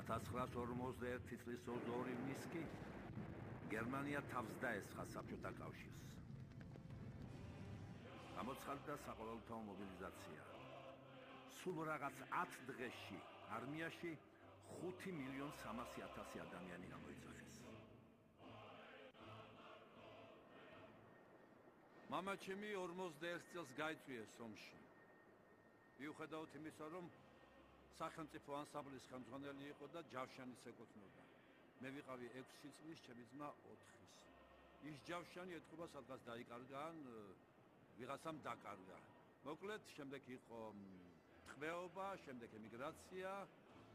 1941 წლის 22 ივნისში გერმანია თავს დაესხა საბჭოთა კავშირს. გამოცხადდა საყოველთაო მობილიზაცია. სულ რაღაც 10 დღეში არმიაში 5,300,000 ადამიანი გამოიძახეს. მამაჩემი 41 წელს გაიწვიეს ომში. მიუხედავად იმისა, რომ სახელმწიფო ანსამბლის ხელმძღვანელი იყო და ჯავშანის ეკუთვნოდა. მე ვიყავი 6 წლის, ჩემი ძმა 4-ის. ის ჯავშანი ეთქობა სადღაც დაიკარგა ან ვიღაცამ დაკარგა. მოკლედ, შემდეგ იყო ტყვეობა, შემდეგ ემიგრაცია,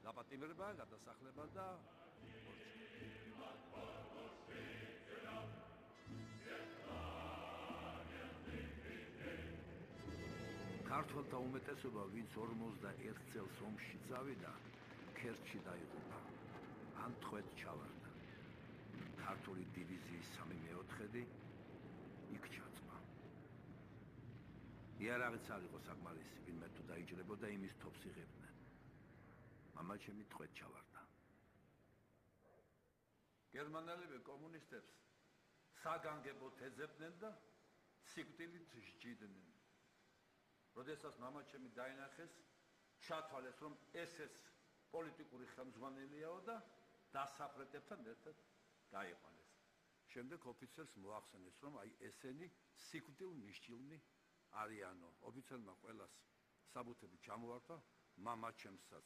დაპატიმრება, გადასახლება და ქართველთა უმეტესობა, ვინც 41 წელს ომში წავიდა, ქერჩში დაიღუპა, ან ტყვედ ჩავარდა. ქართული დივიზიის 3/4 იქ ჩაწვა. იარაღიც არ იყო საკმარისი, ვინმე თუ დაიჭრებოდა, იმის თოფს იღებდნენ. მამაჩემი ტყვედ ჩავარდა. გერმანელები კომუნისტებს საგანგებოდ ეძებდნენ და სიკვდილით სჯიდნენ. როდესაც მამაჩემი დაინახეს, ჩათვალეს, რომ ეს პოლიტიკური ხელმძღვანელიაო და დასაფრეტებთან ერთად გაიყვანეს. შემდეგ ოფიცერს მოახსენეს, რომ აი ესენი სიკვდილმისჯილნი არიანო. ოფიცერმა ყველას საბუთები ჩამოართვა, მამაჩემსაც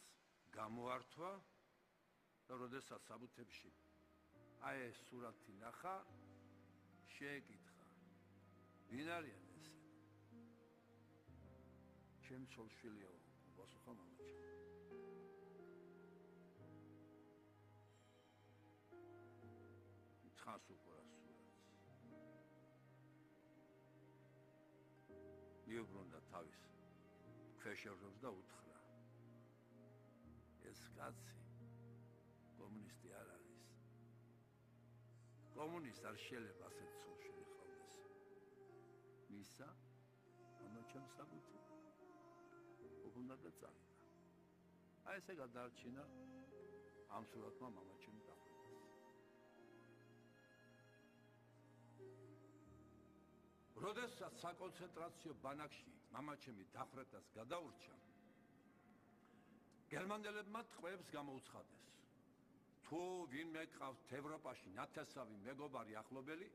გამოართვა და როდესაც საბუთებში აი ეს სურათი ნახა, შეეკითხა, ვინ არიან ესე? ჩემი ცოლ-შვილია, პასუხა მამაჩემ. თხას უყურა სურათს. მიუბრუნდა თავის ქვეშევრდომს და უთხრა, ეს კაცი კომუნისტი არ არის. კომუნისტ არ შეიძლება ასეთ ცოლ-შვილი ჰყავდეს. მისა მამაჩემ საბუთი უბრუნდა და წავიდა. აი ესე გადაარჩინა ამ სურათმა მამაჩემი დახვედას. როდესაც საკონცენტრაციო ბანაკში მამაჩემი დახვედას გადაურჩა, გერმანელებმა ტყვეებს გამოუცხადეს. თუ ვინმე გყავთ ევროპაში ნათესავი მეგობარი ახლობელი,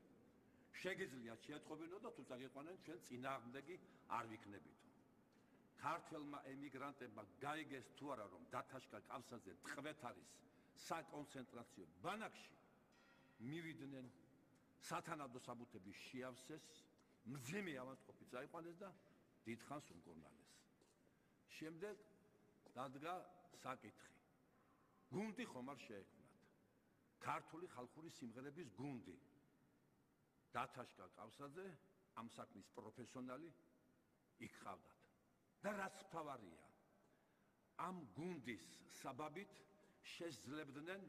შეგიძლიათ შეეტყობინო და თუ წაგიყვანენ, ჩვენ წინააღმდეგი არ ვიქნებითო. ქართველმა ემიგრანტებმა გაიგეს თუ არა, რომ დათაშკა კავსაძე ტყვეთ არის საკონცენტრაციო ბანაკში, მივიდნენ, სათანადო საბუთები შეავსეს, მძიმე ავადმყოფი წაიყვანეს და დიდხანს უმკურნალეს. შემდეგ დადგა საკითხი. გუნდი ხომ არ შეექმნათ? ქართული ხალხური სიმღერების გუნდი. დათაშკა კავსაძე, ამ საქმის პროფესიონალი, იქ ყავდათ. და რაც მთავარია, ამ გუნდის საბაბით შესძლებდნენ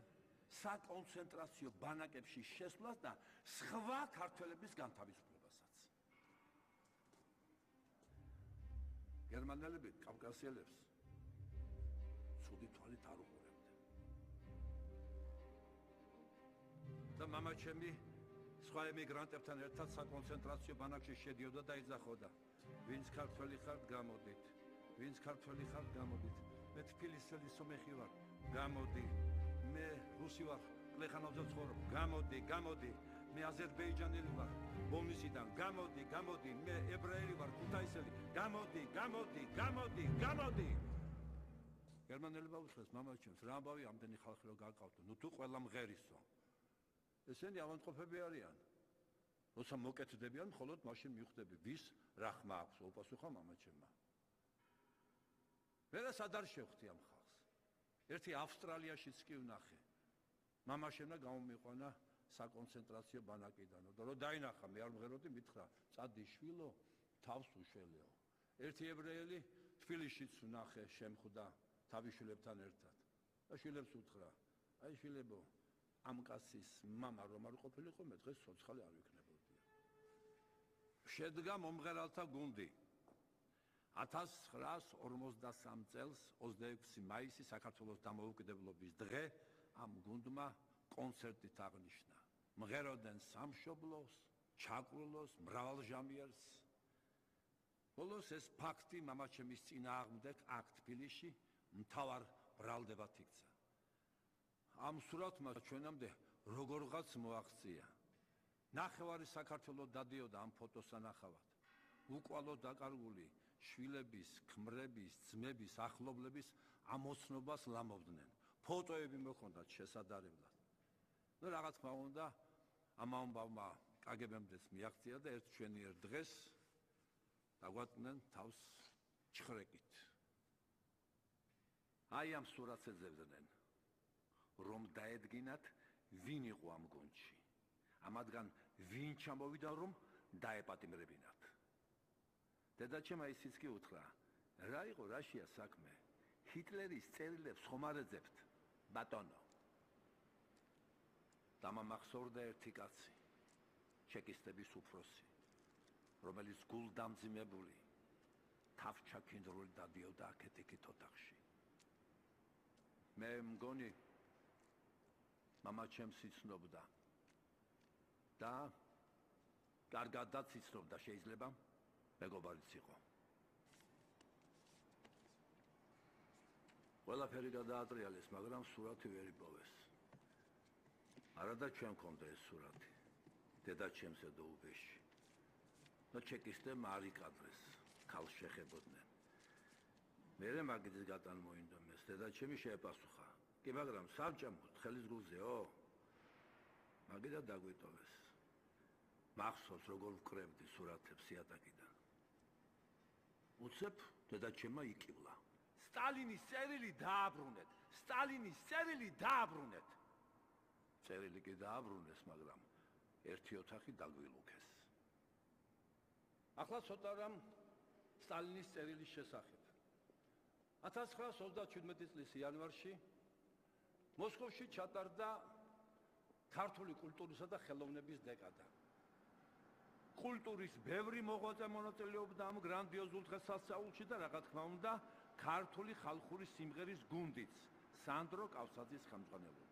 საკონცენტრაციო ბანაკებში შესვლას და სხვა ქართველების განთავისუფლებასაც. გერმანელები კავკასიელებს ცუდი თვალით არ უყურებდნენ. და მამაჩემი სხვა ემიგრანტებთან ერთად საკონცენტრაციო ბანაკში შედიოდა და იძახოდა, ვინც ქართველი ხართ, გამოდით. ვინც ქართველი ხართ, გამოდით. მე თბილისელი სომეხი ვარ, გამოდი. მე რუსი ვარ, პლეხანოვზე ვცხოვრობ, გამოდი, გამოდი. მე აზერბაიჯანელი ვარ, ბოლნისიდან, გამოდი, გამოდი. მე ებრაელი ვარ, ქუთაისელი, გამოდი, გამოდი, გამოდი, გამოდი. გერმანელებმა უთხრეს მამაჩემს, რა ამბავი ამდენი ხალხი რო გაკავთო, ნუ თუ ყველა მღერისო. ესენი ავადმყოფები არიან. როცა მოკეთდებიან, მხოლოდ მაშინ მივხვდები, ვის რა ხმა აქვს, უპასუხა მამაჩემმა. ვერას არ შევხვდი ამ ხალხს. ერთი ავსტრალიაშიც კი ვნახე. მამაშენა გამომიყვანა საკონცენტრაციო ბანაკიდან. და რო დაინახა, მე არ მღეროდი, მითხრა, წადი შვილო, თავს უშველეო. ერთი ებრაელი თბილისშიც ვნახე, შემხვდა თავის შვილებთან ერთად. და შვილებს უთხრა, აი შვილებო, ამ კაცის მამა რომ არ ყოფილიყო, მე დღეს ცოცხალი არ ვიქნებოდია. შედგა მომღერალთა გუნდი. 1953 წელს 26 მაისი საქართველოს დამოუკიდებლობის დღე ამ გუნდმა კონცერტით აღნიშნა. მღეროდნენ სამშობლოს, ჩაკრულოს, მრავალჟამიერს. ბოლოს ეს ფაქტი მამაჩემის წინააღმდეგ აქ თბილისში მთავარ ბრალდებად იქცა. ამ სურათმა ჩვენამდე როგორღაც მოაღწია. ნახევარი საქართველო დადიოდა ამ ფოტოს ანახავად. უკვალო დაკარგული შვილების, ქმრების, ძმების, ახლობლების ამოცნობას ლამობდნენ. ფოტოები მოხონდათ შესადარებლად. რა თქმა უნდა, ამ ამბავმა კგბ-მდეც მიაღწია და ერთ ჩვენიერ დღეს დაგვატნენ თავს ჩხრეკით. აი ამ სურათს ეძებდნენ, რომ დაედგინათ ვინ იყო ამ გუნდში. ამათგან ვინ ჩამოვიდა, რომ დაეპატიმრებინათ. დედაჩემ ისიც კი უთხრა, რა იყო რაშია საქმე? ჰიტლერის წერილებს ხომ არ ეძებთ, ბატონო. დამამახსოვრდა ერთი კაცი, ჩეკისტების უფროსი, რომელიც გულდამძიმებული, თავჩაქინდრული დადიოდა აქეთ-იქით ოთახში. მე მგონი მამაჩემს იცნობდა და კარგადაც იცნობდა, შეიძლება მეგობარიც იყო. ყველაფერი გადაატრიალეს, მაგრამ სურათი ვერ იპოვეს. არადა ჩვენ გქონდა ეს სურათი, დედაჩემსა და უბეში. და ჩეკისტებმა არ იკადრეს, ქალს შეხებოდნენ. მერე მაგიძის გატანმოინდომეს, დედაჩემი შეეპასუხა. კი, მაგრამ საბჭამოდ, ხელის გულზეო? მაგიდა დაგვიტოვეს. მახსოვს, როგორ ვკრებდი სურათებს იატაკიდან. უცებ დედაჩემმა იკივლა. სტალინის წერილი დააბრუნეთ! სტალინის წერილი დააბრუნეთ! წერილი კი დააბრუნეს, მაგრამ ერთი ოთახი დაგვილუქეს. ახლა ცოტა რამ სტალინის წერილის შესახებ. 1937 წლის იანვარში მოსკოვში ჩატარდა ქართული კულტურისა და ხელოვნების დეკადა. კულტურის ბევრი მოღვაწე მონაწილეობდა ამ გრანდიოზულ დღესასწაულში და რა თქმა უნდა, ქართული ხალხური სიმღერის გუნდიც, სანდრო კავსაძის ხელმძღვანელობით.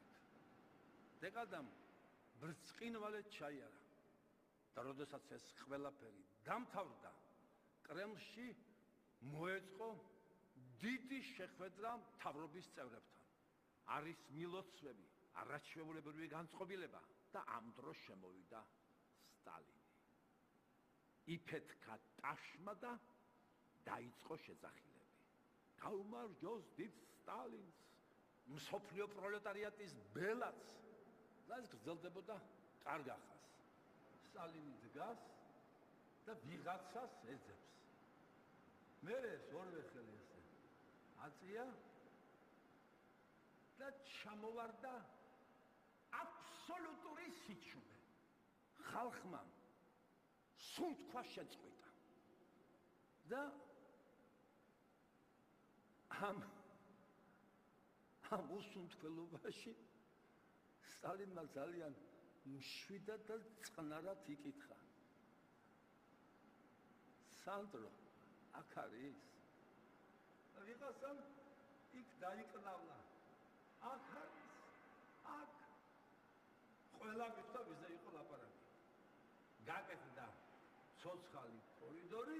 დეკადამ ბრწყინვალედ ჩაიარა და როდესაც ეს ყველაფერი დამთავრდა, კრემლში მოეწყო დიდი შეხვედრა მთავრობის წევრებთან. არის მილოცვები, არაჩვეულებრივი განწყობილება და ამ დროს შემოვიდა სტალინი. იფეთქა ტაშმა და დაიწყო შეძახილები. გაუმარჯოს დიდ სტალინს, მსოფლიო პროლეტარიატის ბელაც. და ეს გრძელდებოდა კარგ ახას. სტალინი დგას და ვიღაცას ეძებს. მერე ეს ორივე ხელი ესე აწია და ჩამოვარდა აბსოლუტური სიჩუმე. ხალხმა სუნთქვა შეწყვიტა და ამ უსუნთქველობაში სტალინმა ძალიან მშვიდად და წყნარად იკითხა. სანდრო, აქ არის? ვიღაცამ იქ დაიყნავლა. აქ არის, აქ. ყველა მითხრა ვიზე იყო ლაპარაკი. გაკეთდა ცოცხალი კორიდორი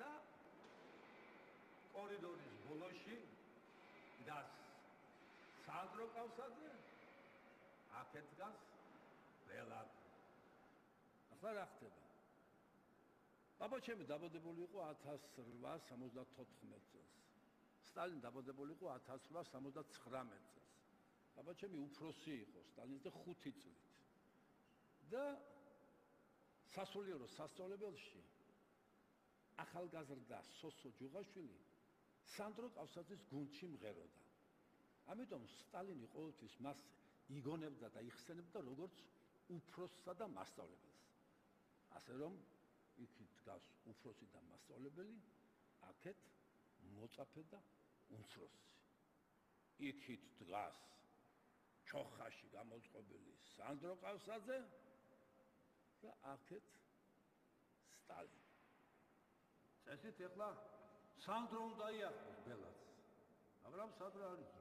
და კორიდორის ბოლოში დგას სანდრო კავსაძე, აქეთ დგას ბელად. ახლა რა ხდება? ბაბაჩემი დაბადებული იყო 1874 წელს. სტალინი დაბადებული იყო 1879 წელს. ბაბაჩემი უფროსი იყო სტალინს და 5 წლით. და სასულიერო სასწავლებელში ახალგაზრდა სოსო ჯუღაშვილი სანდრო კავსაძის გუნდში მღეროდა. ამიტომ სტალინი ყოველთვის მას იგონებდა და იხსენებდა როგორც უფროსსა და მასწავლებელს. ასე რომ იქით დგას უფროსი და მასწავლებელი, აქეთ მოწაფე და უმცროსი. იქით დგას ჩოხაში გამოწყობილი სანდრო კავსაძე და აქეთ სტალინი. ესეთ ეხლა სანდრო უნდა იახოს ბელაც. მაგრამ სანდრო არის?